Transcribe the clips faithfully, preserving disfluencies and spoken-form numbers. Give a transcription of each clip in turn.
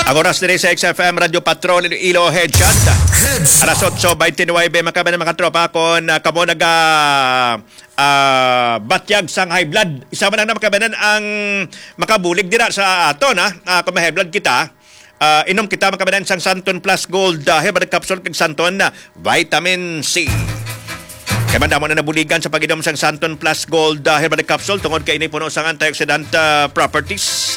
Ang oras diri sa X F M Radio Patrol Iloilo Headshot. Headshot. Alas otso bente nuwebe, mga kababayan, mga tropa, kung, ah, kamo naga, ah, batyag sang high blood. Isa man lang na, mga kababayan, ang makabulig dira sa aton, ha? Ah, kung may high blood kita, ah, inom kita, mga kababayan, sang Santon Plus Gold, ah, Herbal Capsule kag Santon, ah, Vitamin C. Kay madamo na nabuligan sa pag-inom sang Santon Plus Gold, ah, Herbal Capsule tungod kay ini puno sang antioxidant, ah, properties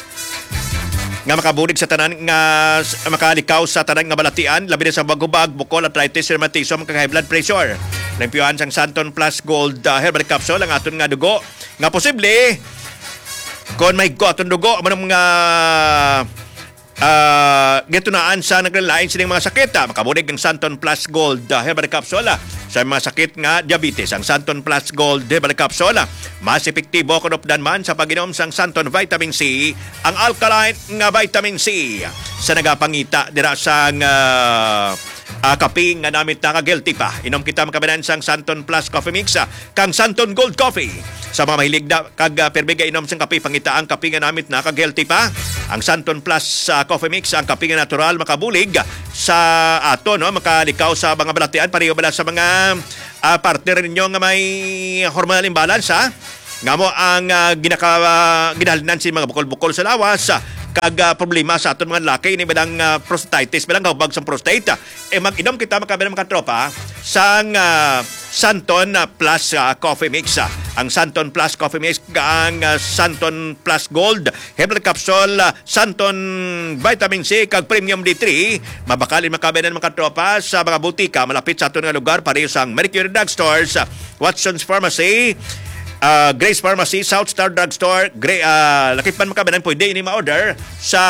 nga makabulig sa tanan nga s-, makalikaw sa tanan nga balatian, labi na sa hubag-hubag, bukol, arthritis, rheumatism, kag high blood pressure. Limpyuhan sang Santon Plus Gold, ah, Herbal Capsule ang aton nga dugo nga posible kon mahigko aton dugo, amo nang mga, ah, gitunaan sa naglain sining mga sakit, ah. Makabulig ang Santon Plus Gold, ah, Herbal Capsule, ah, sa mga sakit nga diabetes. Ang Santon Plus Gold Herbal Capsule, ah, mas epektibo kon updan man sa pag-inom sang Santon Vitamin C, ang alkaline nga vitamin C, sa nagapangita dira sang, ah, ah, kape nga namit na kag healthy pa. Inom kita, mga kababayan, sang Santon Plus Coffee Mix, ah, kang Santon Gold Coffee. Sa mga mahilig na kag, ah, pirmi gainom sang kape, pangita ang kape nga namit na kag healthy pa. Ang Santon Plus, ah, Coffee Mix, ang kape nga natural, makabulig sa ato, no, makalikaw sa mga balatian, pareho bala sa mga, ah, partner ninyo nga may hormonal imbalance, ha? Nga mo ang, ah, ginaka-, ah, ginahalinan sa mga bukol-bukol sa lawas, ah, kag, ah, problema sa aton mga lalaki, ini bilang, ah, prostatitis, bilang kahubag sa prostate. Eh, mag-inom kita, mga kababayan, mga tropa, sang, ah, Santon, ah, Plus, ah, Coffee Mix, ah. Ang Santon Plus Coffee Mix, ang, ah, Santon Plus Gold Herbal Capsule, ah, Santon Vitamin C, kag Premium D three, mabakal ini, mga kababayan, mga tropa, sa mga butika malapit sa aton nga lugar, pareho sang Mercury Drug Stores, ah, Watson's Pharmacy, ah, Grace Pharmacy, South Star Drug Store, Gra-, ah, lakip man, mga kababayan, pwede ini ma-order sa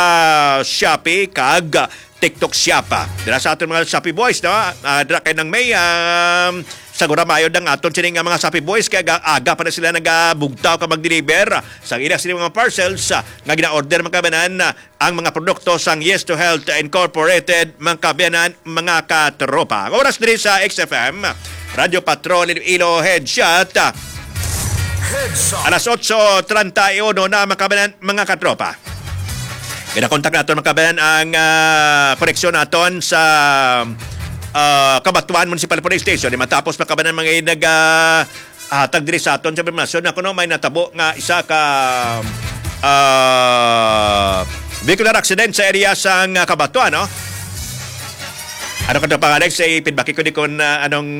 Shopee kag TikTok Shop, ah. Dira sa aton mga Shopee Boys, no? Ah, dira kay nang may, um, sagura maayo ang aton sini nga mga Shopee Boys kay aga, aga pa na sila nagabugtaw ka mag-deliver sa ila sini mga parcels, ah, nga gina-order, mga kababayan, ah, ang mga produkto sang Yes to Health Incorporated, mga kababayan, mga katropa. Ang oras diri sa X F M, Radyo Patrol Iloilo Headshot, ah, Headshot. Alas otso treinta y uno na, mga kababayan, mga katropa. Ginakontak naton, mga kababayan, ang, ah, koneksyon naton sa, ah, Cabatuan Municipal Police Station. Di matapos, mga kababayan, mga nag, ah, hatag diri sa aton sa impormasyon na kuno may natabo nga isa ka, ah, vehicular accident sa area sang, ah, Cabatuan, no? Ano ka pa, Alex? Ay, feedback ko di kon, ah, anong,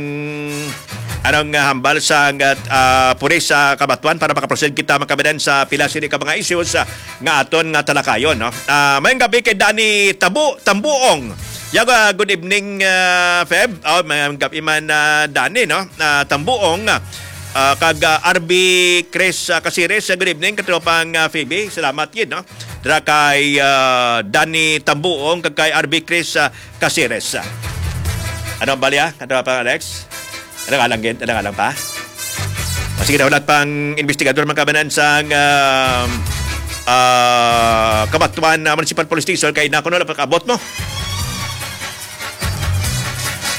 anong, ah, hambal sa, ah, pulis sa Cabatuan para makaproceed kita, mga kababayan, sa pila sini ka mga issues, ah, nga aton nga talakayon, no? Ah, mayong gabi kay Danny Tabu-, Tambuong. Yaga, good evening, ah, Feb. Oh, mayong gabi man, ah, Danny, no? Ah, Tambuong, ah, kag, ah, R B Chris, ah, Casires, ah, good evening, katropang, ah, Phoebe. Salamat gid, no? Dira kay, ah, Danny Tambuong kag kay R B Chris, ah, Casires. Ano ang balya, katropang Alex? Ano nga lang gid? Ano nga lang pa? Ah, sige, nahulat pang investigador, mga kababayan, sang, um, ah, Cabatuan, ah, Municipal Police Station kay na kuno lang pag-abot mo.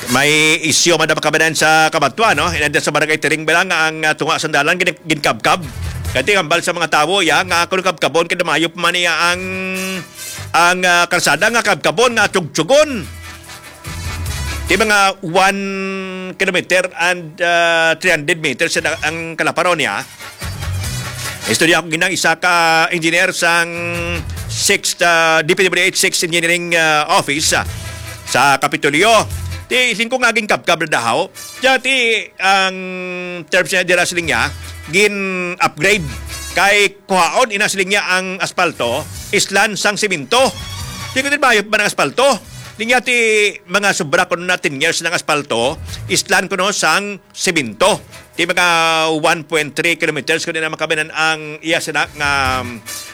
May isyu man ang, mga kababayan, sa Cabatuan, no? Inanda sa Barangay Tiring Bilang ang, ah, tunga sa dalan gin-, ginkabkab. Kay hambal sa mga tawo, ya, nga kuno kabkabon kay mayo pa man niya ang, ang, ah, kalsada nga kabkabon nga tugtugon. Di mga one kilometer and, ah, three hundred meters ang, ang kalaparon niya. Istorya ko ginang isa ka engineer sang sixth, ah, D P W H sixth Engineering, ah, Office, ah, sa Kapitolyo. Ti, singko nga ginkabkab na dahaw. Diya ti ang terms niya dira siling niya, gin-upgrade kay kuhaon ina siling niya ang aspalto, islan sang semento. Di ko din bayot ba ng aspalto? Di niya ti mga sobra kuno na ten years ng aspalto, islan kuno sang semento. Ti mga one point three kilometers kuno na makabinan ang iya sina nga,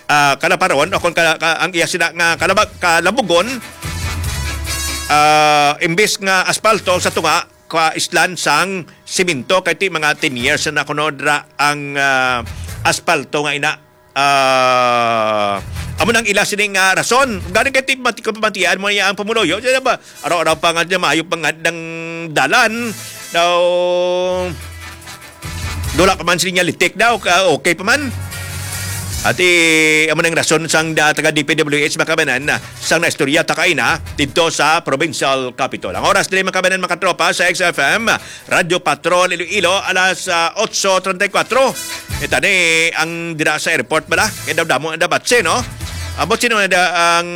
ah, kalaparon o kung ka, ka, ang iya sina nga kalabag, kalabugon, ah, imbis nga aspalto sa tunga, ka islan sang semento kay ti mga ten years na kuno dira ang, ah, aspalto nga ina. Ah, amo nang ila sini nga rason. Gani kay ti mati-, kung pamatian mo niya ang pumuloyo, siya ba? Araw-araw pa nga niya, maayo pa nga ng dalan. Daw, dula pa man sila litik daw, ka-, okay pa man. At, eh, amo nang rason sang da-, taga D P W H, mga kabanan, sang naistorya ta kaina didto sa Provincial Capitol. Ang oras diri, mga kabanan, mga katropa, sa X F M, Radyo Patrol Iloilo, alas, ah, otso treinta y cuatro. Ita ni ang dira sa airport bala. Kay daw damo na dapat siya, no? Ambot sino na da-, ang,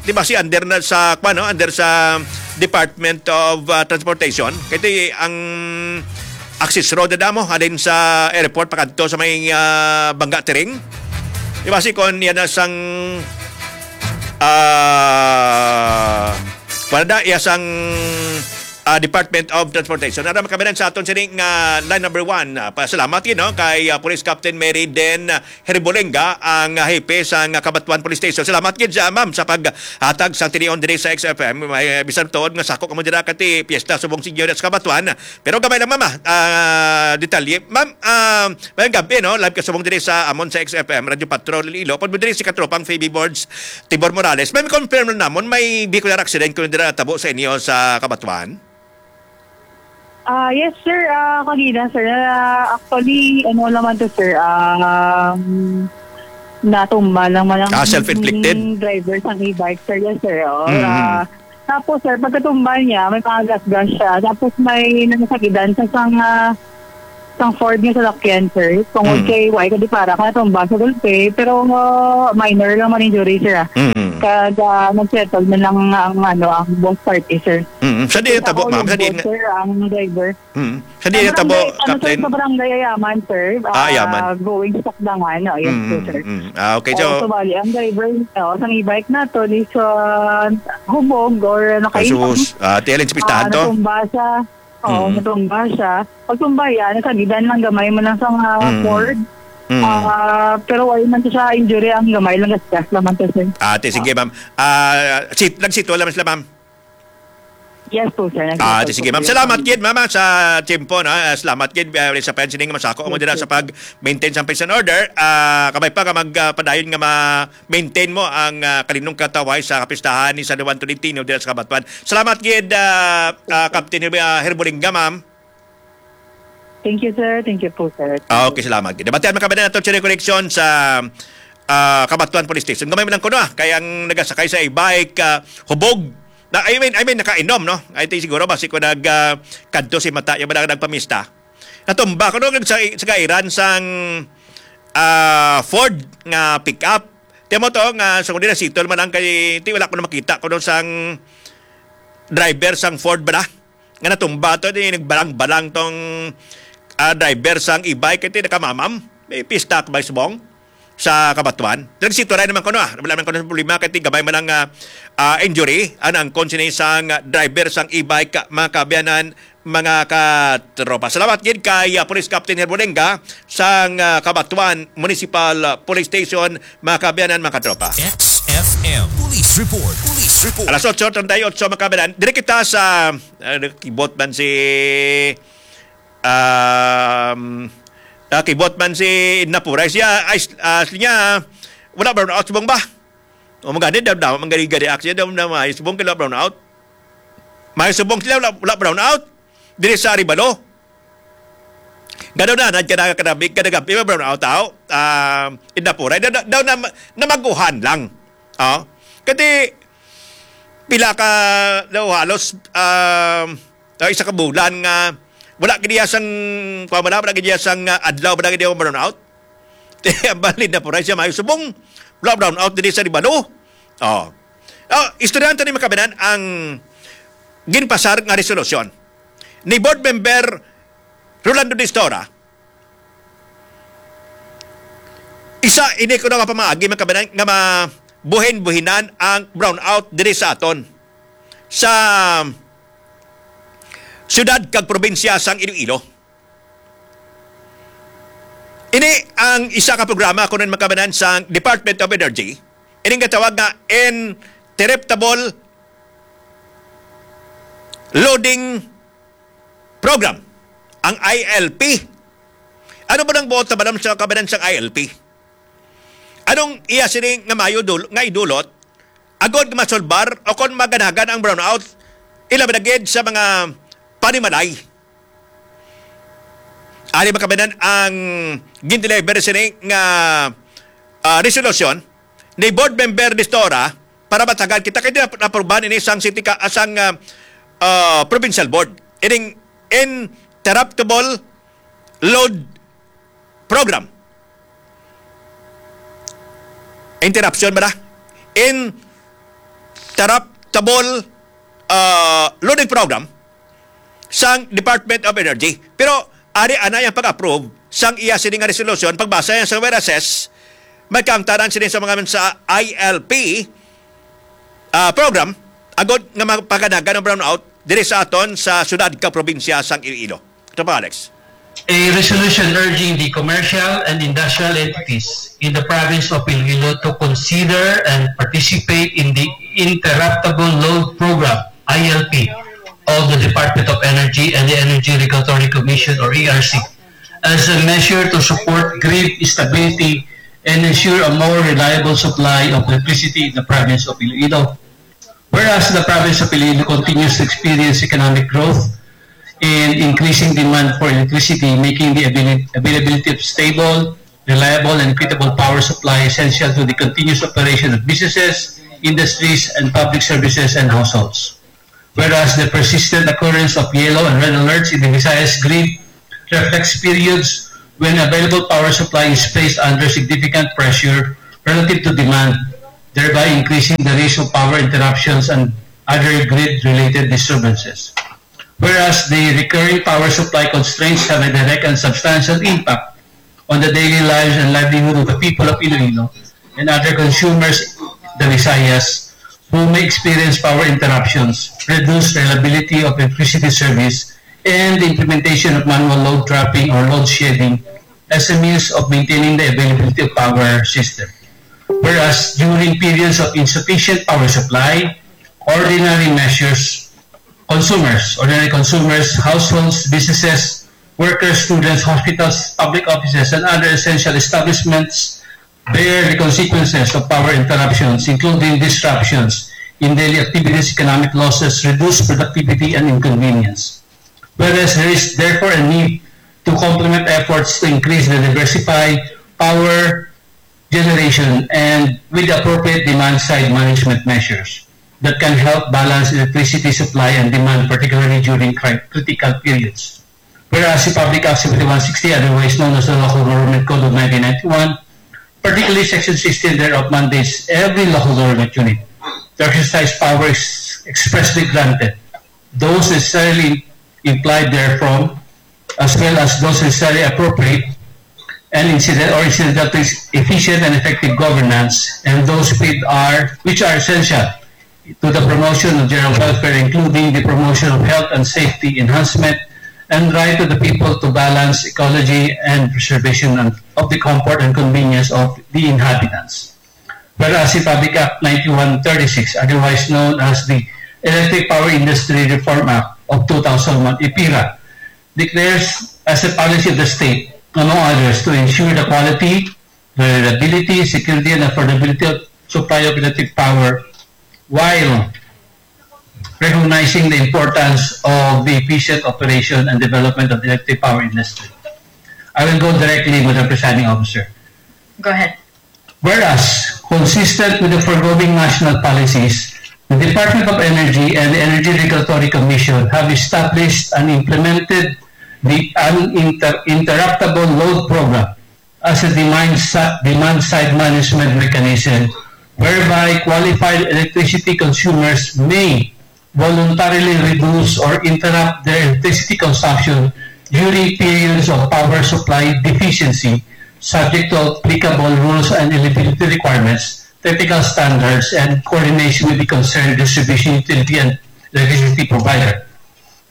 di ba si under na sa, kwan, no? Under sa Department of, ah, Transportation. Kay ito ang access road na damo, halin sa airport pakadto sa may, ah, Bangga Tiring. Di ba si kon yan na sang, ah, wala na, iya sang, ah, Department of Transportation. Ara, mga kabanan, sa aton sini nga line number one. Ah, pasalamat, you know, kay, ah, Police Captain Mary Den Herbolenga, ang, ah, hepe sa, ah, Cabatuan Police Station. Salamat gid sa, ma'am, sa paghatag sa tinion diri sa X F M. May, ah, bisan tuod nga sako kamo dira kati piyesta subong Señor sa Cabatuan. Pero gamay lang, ma'am, ah, ah, detalye. Ma'am, ah, may gabi, no? Live ka subong diri sa amon sa X F M, Radyo Patrol Iloilo. Pag mo diri si Katropang Phoebe Boards, Tibor Morales. May confirm na namon, may vehicular accident kung dira tabo sa inyo sa Cabatuan? Ah, yes, sir. Ah, kanina, sir. Ah, actually, ano naman to, sir? Um, natumba lang man ang Ah, self-inflicted? driver sa e-bike, sir. Yes, sir. Oo. Mm-hmm. Ah, tapos, sir, pagkatumba niya, may mga gasgas siya. Tapos may nasakidan sa sang, ah, sang Ford nga salakyan, sir. Tungod Mm. kay why, kadi para ka natumba sa gulpe, pero, ah, minor lang man injury, sir, ah. Mm-hmm. Kag, ah, nag-settle na lang ang, ano, ang both party, sir. Mm-hmm. Sa di Sa tabo, ma'am? Sa di Olugbo, sir, ang driver. Mm. Sa di Sa tabo, barangay, ano, sir, Captain? Sa barangay Ayaman, sir. Ah, Ayaman. Ah, going sa Sakdangan. Oh, yes po, Mm, sir. mm. Ah, okay, Oo, so so bali, ang driver, oh, sa e-bike nato is, ah, hubog or nakaipang. Kasus, ah, tihalin sa pistahan Ah, to? natumba siya. Oo, Mm. natumba siya. Pagtumba yan, nasagidan lang gamay man lang sa mga Mm. cord. Mm. Ah, pero wala man siya injury, ang gamay lang gasgas lang man to, sir. Ate, sige, ma'am. Ah, sit, nagsitwal naman sila, ma'am. Yes po, sir. Ah, di, sige, ma'am. Salamat gid, ma'am, ah, sa tiyempo, no? Ah, salamat gid, ah, sa pensioning masako mo Yes, dira sir. sa pag-maintain sa peace and order. Ah, kabay pa ka mag, ah, padayon nga ma-maintain mo ang, ah, kalinong katawhay sa kapistahan ni San Juan Tolentino dira sa Cabatuan. Salamat gid, ah, ah, Captain Herb-, ah, Herbolinga, ma'am. Thank you, sir. Thank you po, sir. Ah, okay, salamat. Nabatian man kami na nato, Cherry Connection, sa, ah, Cabatuan Police Station. Gamay man lang kuno, ah, kay ang nagasakay sa e-bike, ah, hubog. Na, I mean, I mean, nakainom, no? I think siguro, basi ko nag, ah, kadto si mata, yung mga nagpamista. Natumba ko, no, sa, sa kairan sang, ah, Ford nga pick-up. Tiyan mo to, nga, so, kung di na sitol man lang kay, ti, wala ko na makita, kuno sang driver sang Ford ba na? Nga natumba to, di nagbalang-balang tong, ah, driver sang e-bike, kay ti nakamamam. May pista ka ba subong sa Cabatuan? Nagsituray naman ko, no, ah. Wala man ko na problema, kay ti gamay man lang, ah, ah, injury. Ang angkon sini sang driver sang e-bike, mga kaabyanan, mga katropa. Salamat gid kay, ah, Police Captain Herbolenga sang, ah, Cabatuan Municipal, ah, Police Station, mga kaabyanan, mga katropa. X F M Police Report. Police Report. Alas otso treinta y ocho, mga kaabyanan. Diri kita sa, ah, kibot man si, um, ah, kibot man si Edna Puray. Siya, ay, ah, niya, wala brownout, subong ba? O, magani, daw, daw, magani, gani, action, daw, daw, may subong kila brownout. May subong sila, wala, wala brownout. Diri sa Arevalo. Gano na, nagkanaga, kanabi, kanagabi, may brownout, tao. Ah, Edna Puray. Daw, daw, daw, na, namaguhan lang. Oh. Kasi, pila ka, daw, halos, ah, daw, isa ka bulan nga, wala gid iya sang, kuwan, wala, wala gid iya sang, ah, adlaw, wala gid iya brownout. Ang balin na po rin siya, may subong, wala, brownout diri sa Arevalo. Oh. Oh, istoryahan ta ni, mga kaabyanan, ang ginpasar nga resolusyon ni Board Member Rolando Distora. Isa ini kuno nga pamaagi, mga kaabyanan, nga mabuhin-buhinan ang brownout diri sa aton sa siyudad kag probinsya sang Iloilo. Ini ang isa ka programa kuno, mga kaabyanan, sa Department of Energy. Ini nga tawag nga Interruptible Loading Program, ang I L P. Ano ba nang buot sa balam sa kabanan sang I L P? Anong iya sini nga mayo dul-, nga idulot agod nga masolbar o kon maganagan ang brownout, ilabi na gid sa mga panimalay? Ari, mga kaabyanan, ang gindeliver sini nga ah, resolution ni Board Member Nestora para matagal kita kay di na aprubahan ini sang city ka, ah, sang, ah, ah, provincial board. Ining interruptible load program. Interruption ba na? Interruptible, ah, loading program sang Department of Energy. Pero ari ana yang pag-approve sang iya sini nga resolution, pagbasa yan sa whereas, may kaangtanan sini sa mga sa I L P, ah, program agod nga mapaganagan ang brownout diri sa aton sa syudad ka probinsya sang Iloilo. Ito pa, Alex. A resolution urging the commercial and industrial entities in the province of Iloilo to consider and participate in the interruptible load program, I L P, of the Department of Energy and the Energy Regulatory Commission, or E R C, as a measure to support grid stability and ensure a more reliable supply of electricity in the province of Iloilo. Whereas the province of Iloilo continues to experience economic growth and increasing demand for electricity, making the avail-, availability of stable, reliable, and equitable power supply essential to the continuous operation of businesses, industries, and public services and households. Whereas the persistent occurrence of yellow and red alerts in the Visayas grid reflects periods when available power supply is placed under significant pressure relative to demand, thereby increasing the risk of power interruptions and other grid-related disturbances. Whereas the recurring power supply constraints have a direct and substantial impact on the daily lives and livelihood of the people of Iloilo and other consumers, the Visayas, who may experience power interruptions, reduced reliability of electricity service, and the implementation of manual load trapping or load shedding as a means of maintaining the availability of power system. Whereas during periods of insufficient power supply, ordinary measures, consumers, ordinary consumers, households, businesses, workers, students, hospitals, public offices, and other essential establishments bear the consequences of power interruptions, including disruptions in daily activities, economic losses, reduced productivity, and inconvenience. Whereas there is therefore a need to complement efforts to increase the diversify power generation and with appropriate demand side management measures that can help balance electricity supply and demand, particularly during cri-, critical periods. Whereas the Public Act seventy-one sixty, otherwise known as the Local Government Code of nineteen ninety-one, particularly Section sixteen thereof, mandates every local government unit to exercise power ex-, expressly granted, those necessarily implied therefrom, as well as those necessarily appropriate and incident or incidental to its efficient and effective governance, and those paid are, which are essential to the promotion of general welfare, including the promotion of health and safety enhancement, and right of the people to balance ecology and preservation and of the comfort and convenience of the inhabitants. Whereas the Public Act ninety-one thirty-six, otherwise known as the Electric Power Industry Reform Act of two thousand one, EPIRA, declares as a policy of the state, among others, to ensure the quality, reliability, security, and affordability of supply of electric power while recognizing the importance of the efficient operation and development of the electric power industry. I will go directly, Madam Presiding Officer. Go ahead. Whereas, consistent with the foregoing national policies, the Department of Energy and the Energy Regulatory Commission have established and implemented the uninter-, interruptible load program as a demand sa-, demand side management mechanism whereby qualified electricity consumers may voluntarily reduce or interrupt their electricity consumption during periods of power supply deficiency, subject to applicable rules and eligibility requirements, technical standards, and coordination with the concerned distribution utility and electricity provider.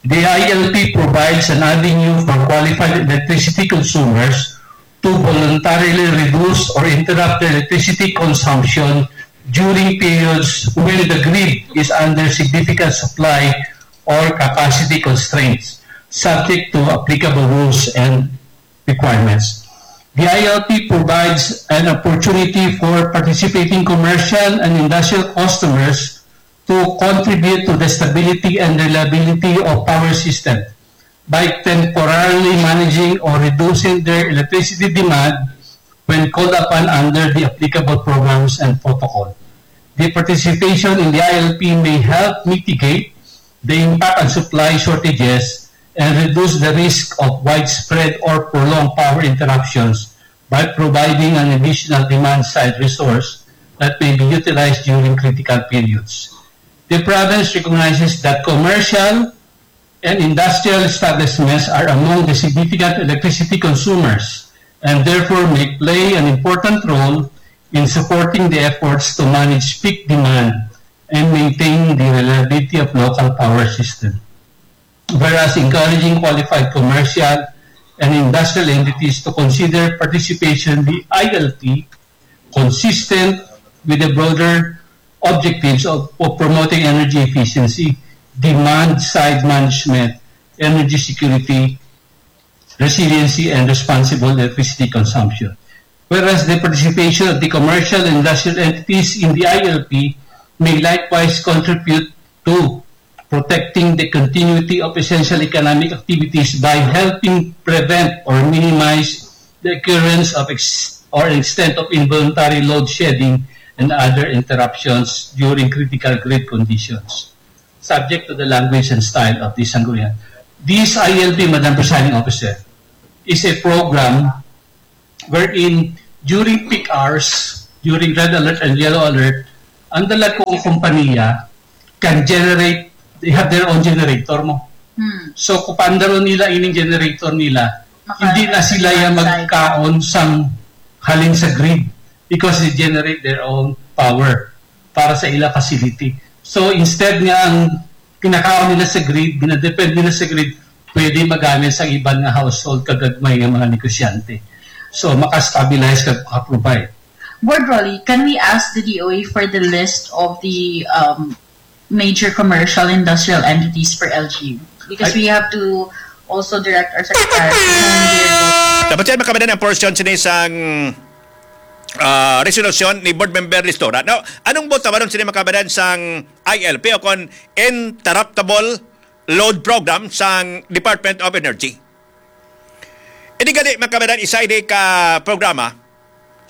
The I L P provides an avenue for qualified electricity consumers to voluntarily reduce or interrupt their electricity consumption during periods when the grid is under significant supply or capacity constraints, subject to applicable rules and requirements. The I L P provides an opportunity for participating commercial and industrial customers to contribute to the stability and reliability of power system by temporarily managing or reducing their electricity demand when called upon under the applicable programs and protocol. The participation in the I L P may help mitigate the impact on supply shortages and reduce the risk of widespread or prolonged power interruptions by providing an additional demand-side resource that may be utilized during critical periods. The province recognizes that commercial and industrial establishments are among the significant electricity consumers and therefore may play an important role in supporting the efforts to manage peak demand and maintain the reliability of local power system. Whereas encouraging qualified commercial and industrial entities to consider participation in the I L P consistent with the broader objectives of, of promoting energy efficiency, demand side management, energy security, resiliency, and responsible electricity consumption. Whereas the participation of the commercial and industrial entities in the I L P may likewise contribute to protecting the continuity of essential economic activities by helping prevent or minimize the occurrence of ex-, or extent of involuntary load shedding and other interruptions during critical grid conditions, subject to the language and style of this sanggunian. This I L P, Madam Presiding Officer, is a program wherein during peak hours, during red alert and yellow alert, ang dalagkong kompanya can generate, they have their own generator mo. Hmm. So, kung paandaro nila ining generator nila, hindi na sila yung magkaon sang halin sa grid because they generate their own power para sa ila facility. So, instead nga ang kinakaon nila sa grid, ginadepend nila sa grid, pwede magamit sa iban nga household kagagmay nga mga negosyante. So, makastabilize kag makaprovide. Board Rolly, can we ask the D O A for the list of the um, major commercial industrial entities for L G U? Because I we have to also direct our secretary to know their vote. Dapat yan makabanan ang portion sini sang ah, resolusyon ni Board Member Listora. Now, anong vote naman sini makabanan sang I L P o kon Interruptible Load Program sang Department of Energy? Hindi gani makabanan isa ini ka programa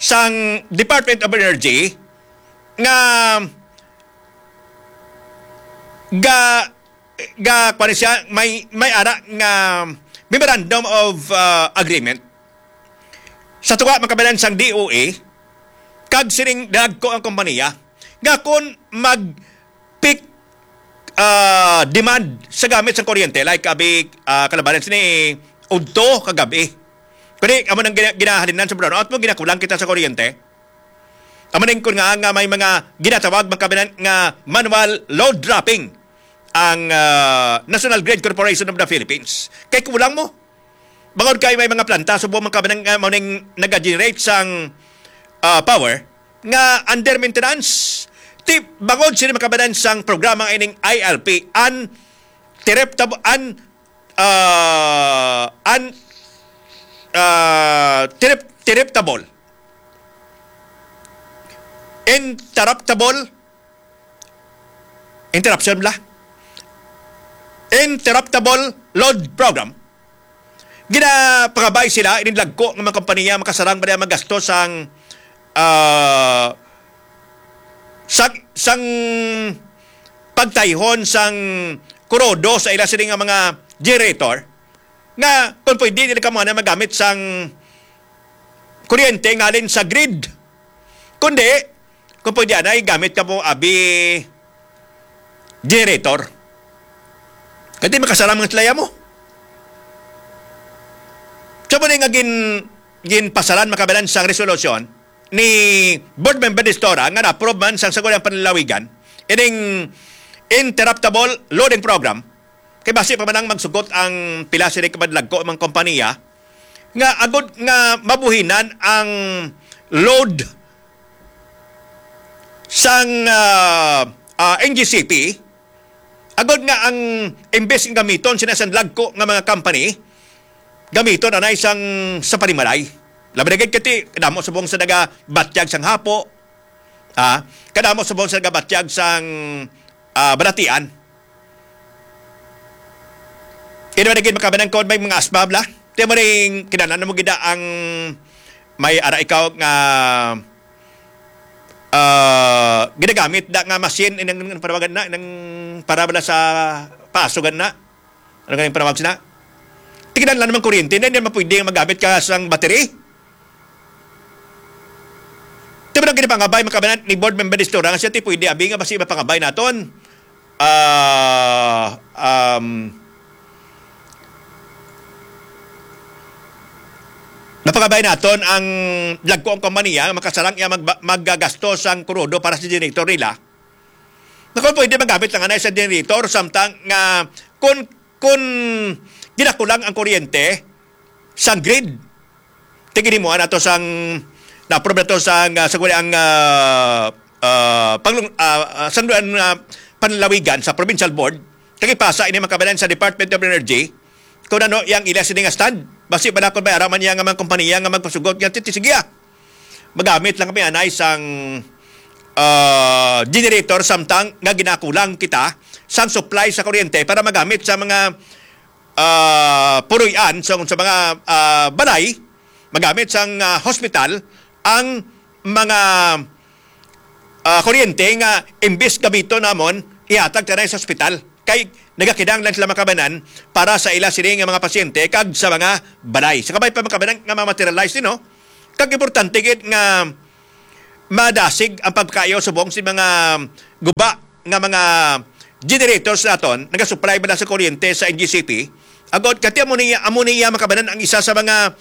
sang Department of Energy nga ga ga kuwan siya, may may ara nga memorandum of ah, agreement sa tunga makabanan sang D O A kag sining dagko ang kompanya nga kung mag peak ah, demand sa gamit sa kuryente, like abi ah, kalabanan sini udto kagabi, kundi amo nang gina- ginahalinan sa brownout mo, ginakulang kita sa kuryente. Amo ning kun nga, nga may mga ginatawag, mga kabanan, nga manual load dropping ang ah, National Grid Corporation of the Philippines. Kay kulang mo. Bangod kay may mga planta subong, mga kabanan, nga mao ning nag-generate sang ah, power nga under maintenance. Ti bangod sini, mga kabanan, sang programa nga ining I L P, an tireptab an ah, an ah, tirep- tireptable, interruptible, interruption bala, interruptible load program. Ginapangabay sila ining dagko nga mga kompanya makasarang ba niya magasto sang ah, sang sang pagtayhon sang kurodo sa ila sini nga mga generator, nga kung pwede nila kamo na magamit sang kuryente nga halin sa grid, kundi kung pwede anay gamit kamo abi generator. Kadi makasalam nga sila mo. Sa muna nga gin, ginpasalan, mga kabanan, sang resolusyon ni Board Member Distora nga na-approve man sang Sangguniang Panlalawigan ining interruptible loading program. Kay basi pa man ang magsugot ang pila sini ka madlagko mga kompanya nga agod nga mabuhinan ang load sang ah, ah, N G C P, agod nga ang imbes nga gamiton sina sang dagko nga mga company, gamiton anay sang sa panimalay. Labi na gid kay kadamo subong sa nagabatyag sang hapo, ah, kadamo subong sa nagabatyag sang ah, balatian. Ino na gid makabanan kon may mga asbab la. Ti mo ring kinahanglan mo gid ang may ara ikaw nga, ah, ginagamit da nga machine, inang, inang panawagan na, inang para bala sa paaso gani na. Ano gani panawag sina? Tignan lang naman kuryente, hindi naman pwede nga magamit ka sang battery. Di ba nang ginapangabay, mga kabanan, ni board member Distura nga siya ti pwede abi nga basi mapangabay naton. Ah, um, mapangabay naton ang dagko ang kompanya nga makasarang iya magba-, maggagasto sang krudo para sa generator nila. Naku, pwede magamit lang anay sa generator, samtang nga kung, kung ginakulang ang kuryente sa grid, tiginimuan nato sang, na-approve nato sang, ah, sa ang, ah, ah, panglung-, ah, ah, sang, ah, panlalawigan sa provincial board, kag ipasa ini, mga kabanan, sa Department of Energy, kung ano yang ila sini nga stand. Basi bala kung may ara man iya nga mga kompanya nga magpasugot nga, "Titi, sige, ah. Magamit lang kami anay sang, ah, generator samtang nga ginakulang kita sang supply sa kuryente para magamit sa mga, ah, puloy-an, sa, sa mga, ah, balay, magamit sang, ah, hospital ang mga, ah, kuryente nga imbis gamiton namon, ihatag ta na sa ospital. Kay nagakinahanglan sila, mga kabanan, para sa ila sini nga mga pasyente kag sa mga balay. Sa kabay pa, mga kabanan, nga ma-materialize din, no? Kag importante gid nga madasig ang pagkayo subong sa mga guba nga mga generators naton, nagasupply ba na sa kuryente sa N G C P? Agod, kati amo niya, amo niya, mga kabanan, ang isa sa mga,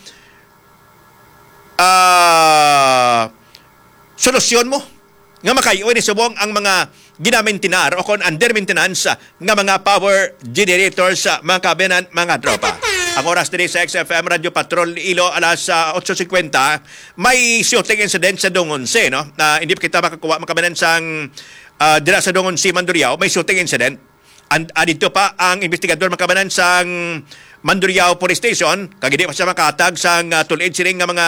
ah, solusyon mo nga makayo ni subong ang mga ginamentenar o kon under maintenance nga mga power generators, mga kabanan, mga tropa. Ang oras diri sa X F M Radio Patrol Ilo, alas, ah, otso singkwenta. May shooting incident sa Dungonse, no? Na hindi pa kita makakuha, mga kabanan, sang, ah, dira sa Dungonse, Mandurriao, may shooting incident. And, ah, dito pa ang investigador, mga kabanan, sang Mandurriao Police Station, kag hindi pa siya makahatag sang, ah, tulid sining nga mga,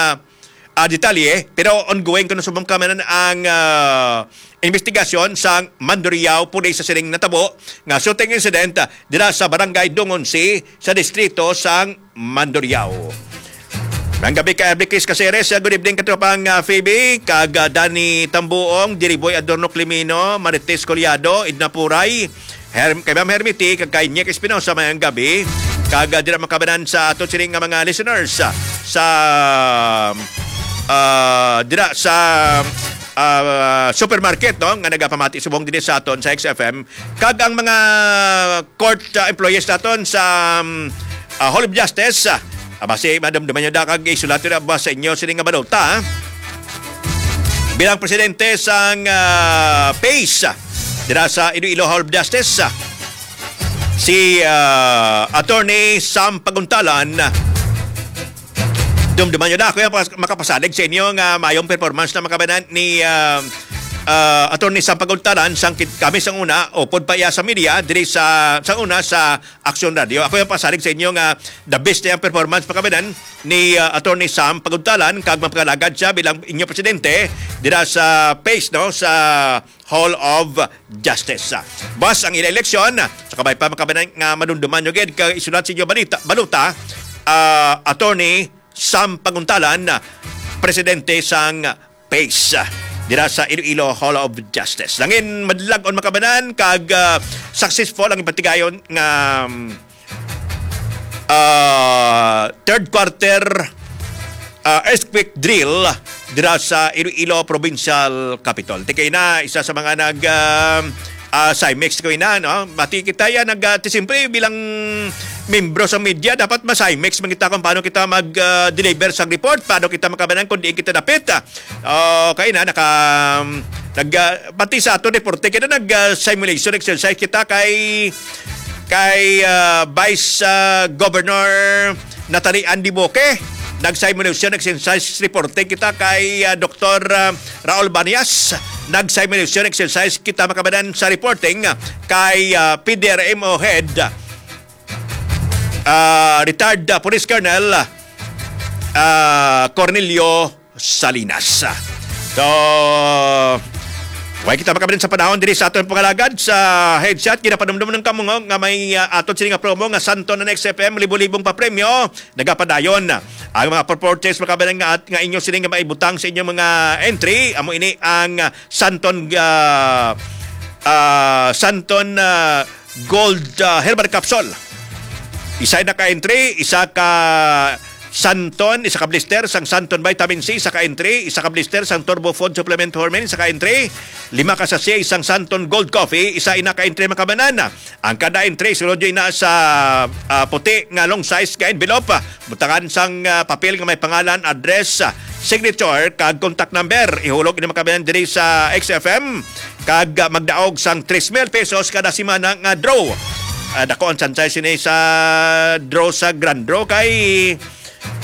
ah, detalye, pero ongoing kuno subong, mga kabanan, ang, ah, investigasyon sang Mandurriao Police sa sining natabo nga shooting incident, ah, dira sa Barangay Dungonse sa distrito sang Mandurriao. Maayong gabi ka, Elviquis Caceres. Good evening, katropang, ah, Phoebe, kag, ah, Danny Tambuong, Diriboy Adorno Climino, Marites Collado, Edna Puray, Herm-, kay Ma'am Hermity, kag kay Nick Espinosa, maayong gabi. Kag, ah, dira, mga kabanan, sa ato sining nga mga listeners, ah, sa, ah, dira sa, ah, supermarket, no, nga nagapamati subong diri sa aton sa X F M. Kag ang mga court, ah, employees naton sa, um, ah, Hall of Justice, ah, ah, basi madumduman nyo da kag isulat nyo na ba sa inyo sini nga balota, ah? Bilang presidente sang, ah, PACE, ah, dira sa Iloilo Hall of Justice, ah, si, ah, Attorney Sam Paguntalan, ah, dumduman nyo na, ako yung pas-, makapasalig sa inyo nga mayong performance na, mga kabanan, ni, ah, ah, Attorney Sam Paguntalan, sang kit-, kami sang una, upod pa iya sa media, diri sa, sang una sa Aksyon Radio. Ako yung pasalig sa inyo nga the best na yung performance, mga kabanan, ni, ah, Attorney Sam Paguntalan, kag magpakalagad siya bilang inyo presidente dira sa PACE, no, sa Hall of Justice. Buwas ang ila eleksyon, sa kabay pa, mga kabanan, nga madumduman nyo gid, kag isulat sa inyo balita, balota, ah, Attorney Sam Paguntalan, presidente sang PACE, dira sa Iloilo Hall of Justice. Langin madlag-on, mga kabanan, kag, ah, successful ang ipatigayon nga, um, ah, third quarter, ah, earthquake drill dira sa Iloilo Provincial Capitol. Tikay na, isa sa mga nag, ah, ah, Simex ko ina, no? Bati kita yan, nag, ah, ti, siyempre, bilang membro sa media, dapat ma-Simex man kita kung paano kita mag, ah, deliver sa report, paano kita makabanan kung diin kita dapit, ah. Oh, kay na, naka, um, nag, ah, pati sa ato deporte, kita nag, ah, simulation exercise kita kay, kay, ah, Vice, ah, Governor Natalie Ann Debuque. Nag-simulation exercise reporting kita kay, ah, Doktor, ah, Raul Banias. Nag-simulation exercise kita, mga kabanan, sa reporting kay, ah, P D R M O head, ah, retired, ah, Police Colonel, ah, Cornelio Salinas. So, Way kita makabalin sa panahon diri sa aton pangalagad sa headset. Ginapanumdum ng kamungo nga may, ah, aton sini nga promo nga Santon and X F M, libo-libong pa premyo. Nagapadayon ang mga purporters, makabalin nga, at nga inyo sini nga maibutang sa inyong mga entry. Amo ini ang, ah, Santon, ah, ah, Santon, ah, Gold, ah, Herbal Capsule. Isa na ka entry, isa ka Santon, isa ka blister sang Santon Vitamin C, isa ka entry, isa ka blister sang Turbo Food Supplement Hormone, isa ka entry, lima ka sachet sang Santon Gold Coffee, isa ina ka entry, makabalin. Ang kada entry, sulod yun na sa, ah, puti nga long size nga envelope. Butangan sang, ah, papel nga may pangalan, address, ah, signature, kag contact number. Ihulog ini, makabalin, diri sa X F M, kag, ah, magdaog sang tres mil pesos kada semana nga draw. Ah, dako ang sansay sini sa draw sa Grand Draw kay,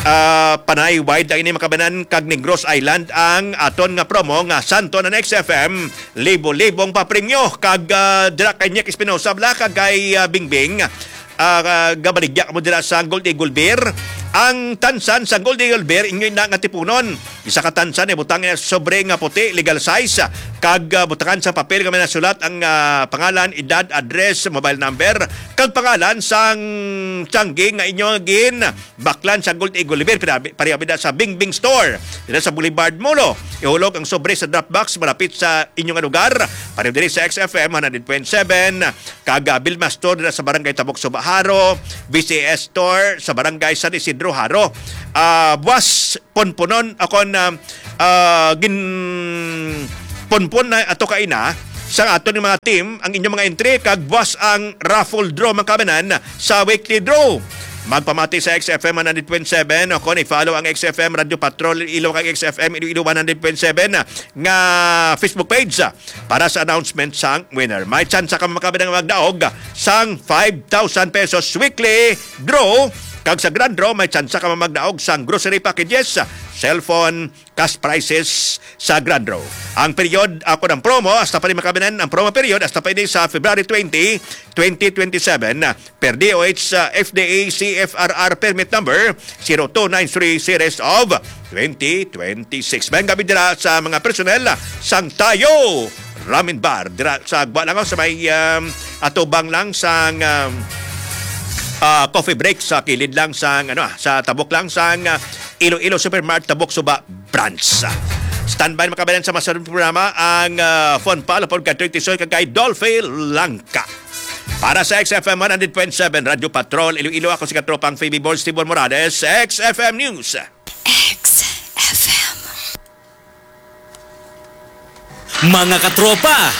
ah, panay wide ang ini, makabalin, kag Negros Island ang aton nga promo nga Santon and X F M, libo-libong papremyo. Kag, ah, dira kay Nick Espinosa, bala, kag kay, ah, Bingbing, ah, gabaligya mo dira sa Gold Eagle Beer. Ang tansan sa Gold Eagle Beer, inyo na nga tipunon. Isa ka tansan, ibutang niya sobre nga puti, legal size, kag, ah, butangan sa papel nga may nasulat ang, ah, pangalan, edad, address, mobile number, kag pangalan sang tiyanggi nga inyo gin baklan sa Gold Eagle Beer. Pinabi-, pareha bida sa Bingbing Store, dira sa Boulevard Molo. Ihulog ang sobre sa drop box malapit sa inyo nga lugar. Pareho diri sa X F M one hundred point seven, kag, ah, Vilma Store dira sa Barangay Tabok Suba, Jaro, V C S Store sa Barangay San Isidro, Jaro. Ah, buwas ponponon ako na, ah, gin ponpon na ato kaina sa aton nga mga team ang inyong mga entry, kag buwas ang raffle draw, makabalin, sa weekly draw. Magpamati sa X F M one hundred point seven o kung i-follow ang X F M Radio Patrol Iloilo kag X F M Iloilo one hundred point seven nga Facebook page para sa announcement sang winner. May tsansa ka, makabalin, nga magdaog sang five thousand pesos weekly draw, kag sa grand draw may tsansa ka magdaog sang grocery packages, cellphone, cash prizes sa grand draw. Ang period, ako ng promo, hasta pa rin, makabalin, ang promo period hasta pa ini sa February twenty, twenty twenty-seven. Per D O H, uh, F D A C F R R permit number zero two nine three series of twenty twenty-six. May gabi dira sa mga personnel sang Tayo Ramen Bar dira sa Agba lang, sa may, um, atubang lang sang, um, ah, coffee break sa kilid lang sang, ano, ah, sa tabok lang sang, ah, Iloilo Supermart, Tabok Suba Branch. Standby, makabalin, sa masunod programa ang, ah, Fun Pal upod kay Tisoy kag kay Dolphy Langka. Para sa X F M one hundred point seven Radyo Patrol Iloilo, ako si Katropang Phoebe Born, Steven Morales, X F M News. X F M. Mga katropa,